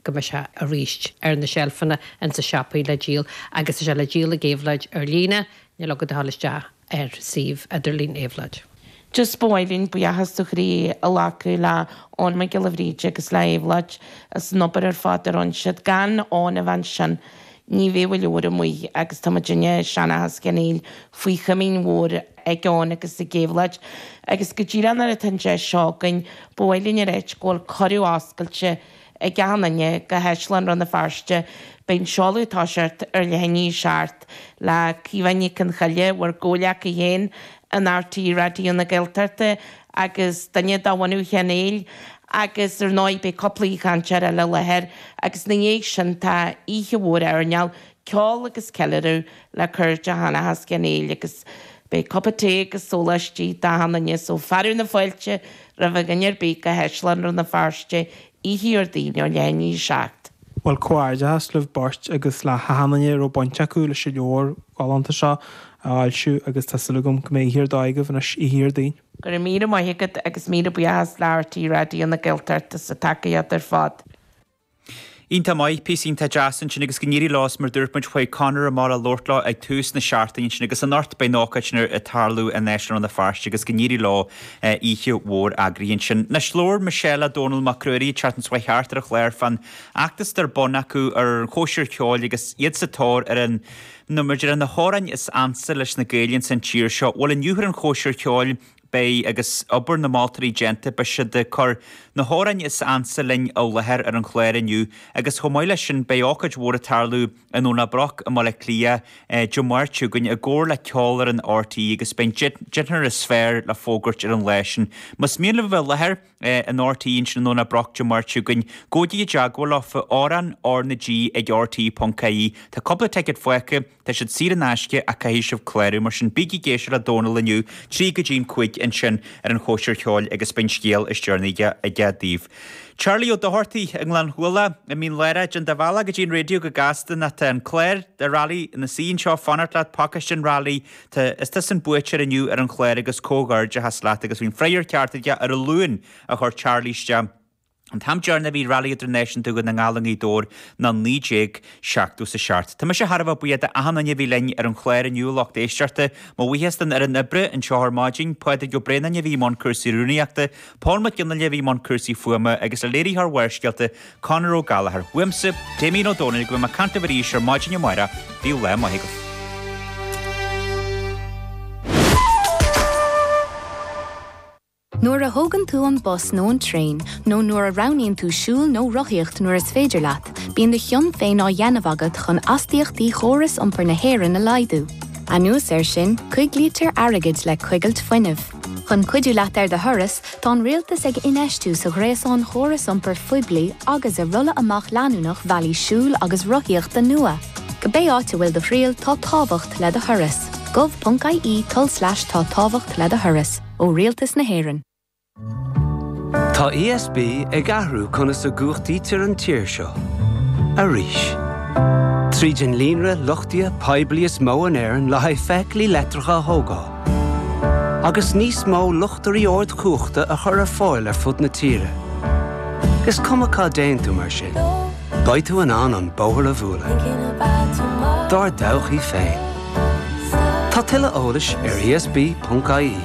go mbeidh sé arís ar na seilfeanna ins na siopaí le díol agus tá sé le díol ag Éabhlóid ar líne, níl agat ach a dhul isteach ar suíomh idirlín Éabhlóid. Just ba mhaith linn buíochas ó chroí a ghlacadh le Eoin Mac Giolla Bhríde agus le Éabhlóid as an obair ar fad a rinne siad. Gan Eoin a bheith ansin ní bheadh an leabhar amuigh agus tá muidinne, Seanchas Cheann Fhaola, faoi chomaoin mhór ag Eoin agus ag Éabhlóid. Agus go díreach nuair atá an deis seo againn, ba mhaith linn a ráit go bhfuil cuireadh oscailte ag achan duine go hÁislann Rann na Feirste. Beidh an seoladh ag toiseacht ar leath i ndiaidh 7 le Caoimhe Nic Con Choille, bhur gcomhghleacaí féin in RTÉ Raidió na Gaeltachta agus duine de bhunadh Cheann Fhaola agus ar ndóigh beidh cúpla aoichainteoir eile i láthair agus ina dhiaidh sin tá oíche mhór airneáil, ceol agus ceiliúradh le cairde Sheanchas Cheann Fhaola agus beidh cupa tae agus sóláistí d'achan duine so fearadh na fáilte roimh dhuine ar bith go hÁislann Rann na Feirste oíche Dhéardaoin ó leath i ndiaidh 7. Bhuel, comhghairdeachas libh beirt agus le hachan duine a raibh baint acu leis an leabhar galánta seo a fhoilsiú agus tá súil agam go mbeidh oíche ar dóigh agaibh anois oíche Dhéardaoin. Go raibh míle maith agat agus míle buíochas le RTÉ Raidió na Gaeltachta as an tacaíocht ar fad. Iontach maith, píosa iontach deas ansin agus go n-éirí leo is mar dúirt muid chuaigh Conor amach le labhairt leo ag tús na seachtaine ansin agus anocht beidh an ócáid sin ag tarlú in Áislann Rann na Feirste agus go n-éirí leo oíche mhór eagraithe ansin. Anois labhair Michelle le Dónal Mac Ruairí an tseachtain seo chuaigh thart ar an chlár fán fheachtas atá ar bun acu ar an chóisir cheoil agus iad sa tóir ar an nó mar a déarfá na hamhráin is ansa leis na Gaeil ins an tír seo. Bhuel inniu ar an chóisir cheoil Beidh, agus obair na moltóirí déanta, beidh siad ag cur na hamhráin is ansa linn i láthair ar an chlár inniu agus chomh maith leis sin beidh ócáid mhór ag tarlú i nDomhnach Broc i mBaile Átha Cliath Dé Máirt seo chugainn i gcomhar le Ceolfhoireann RTÉ agus beidh an deichniúr is fearr le fógairt ar an lá sin. Más mian libh a bheith i láthair in RTÉ ansin i nDomhnach Broc Dé Máirt seo chugainn, gabhaigí i dteagmháil leofa, amhrán R na G ag rte.ie. Tá cúpla ticéad fágtha. Tá siad saor in aisce ach caithfidh sibh clárú, mar sin bígí ag éisteacht le Dónal inniu, 3 go dtí an 5 ansin ar an chóisir cheoil agus beidh an scéal is deireanaí aige daoibh. Charlie Ó Dochartaigh i nGleann Chualann i Mín Lárach, déan do bhealach go dtí an raidió go gasta nó tá an clár de Rally ina suí anseo ag fanacht leat, pacáiste an Rally, tá, is tusa an buaiteoir inniu ar an chlár agus comhghairdeachas leat agus bhí an freagra ceart aige ar an Luan a chuir Charlie isteach. An t-am deireanach a bhí Rally Idirnáisiúnta Dhún na nGall i nGaoth Dobhair ná 1977. Tá mise thar a bheith buíoch d'achan duine a bhí linn ar an chlár inniu, a lucht éisteachta. Mo bhuíochas don fhoireann oibre anseo ar maidin, Pádraig Ó Braonáin a bhí i mbun cúrsaí rúnaíochta, Paul Mac Fhionnghaile a bhí i mbun cúrsaí fuaime agus le léiritheoir Bharrscéalta, Conor Ó Gallchóir. Uaimse, Damien Ó Dónaill, go mbeidh mé ag caint libh arís ar maidin amárach, bíodh lá maith agaibh. Nuair a thógann tú an bus nó an traein, nó nuair a roghnaíonn tú siúl nó rothaíocht nuair is féidir leat, bíonn do chion féin á dhéanamh agat chun astaíochtaí chóras iompair na hÉireann a laghdú. Anuas air sin, coiglítear airgead le coigilt fuinnimh. Chun cuidiú leat ar do thuras, tá an Rialtas ag infheistiú sa ghréasán chóras iompair phoiblí agus i rolladh amach leanúnach bhealaí siúil agus rothaíochta nua. Cibé áit a bhfuil do thriall, tá tábhacht le do thuras. gov.ie tulslais tá tábhacht le do thuras. Ó Rialtas na hÉireann. Tá ESB ag athrú conas a gcumhachtaítear an tír seo. Arís. Tríd an líonra luchtaithe poiblí is mó in Éirinn le haghaidh feithiclí leictreacha a thógáil, agus níos mó luchtairí ardchumhachta a chur ar fáil ar fud na tíre. Is cuma cá dtéann tú mar sin, beidh tú in ann an bóthar a bhualadh. Dár dtodhchaí féin. Tá tuilleadh eolais ar esb.ie.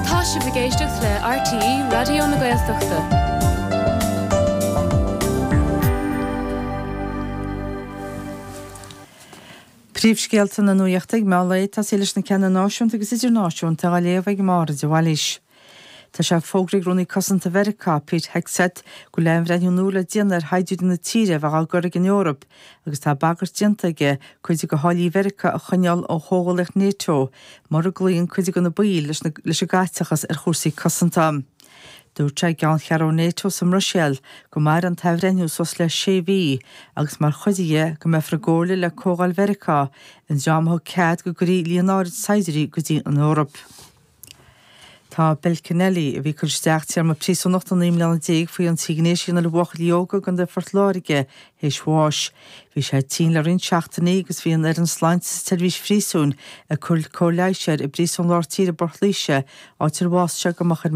Tá sibh ag éisteacht le RTÉ Raidió na Gaeltachta. Príomhscéalta na Nuachta ag meán lae, tosaí leis na ceanna náisiúnta agus idirnáisiúnta á léamh ag Máire de Bhailís. Tá sé fógraithe ag Rúnaí Cosanta Mheiriceá, Pete Hegseth, go bhfuil athbhreithniú nua le déanamh ar shaighdiúirí na tíre a bheadh á gcur ag an Eoraip agus tá bagairt déanta aige cuid de tháillí Mheiriceá a choinneáil ó chomhghuaillíocht Nato mura gcloíonn cuid de na baill leis an gcaiteachas ar chúrsaí cosanta. Dúirt sé i gceanncheathrú Nato sa mBruiséil go mairfidh an t-athbhreithniú suas le sé mhí agus mar chuid dhe go mbeifear i gcomhairle le Comhdháil Mheiriceá, an dream a thug cead go gcuirfí líon áirid saighdiúirí go dtí an Eoraip. Tá Bill Kennelly, a bhí ag cur isteach téarma príosúnachta 19 mbliana faoi ionsaí gnéis a dhéanamh ar bhuachaillí óga i gContae Phort Láirge, théis bháis. Bhí sé tinn le roinnt seachtainí agus bhí an fhoireann sláinte sa tseirbhís phríosúin ag cur cóir leighis air i bPríosún Lár Tíre i bPort Laoise, áit ar bhásaigh sé go moch ar.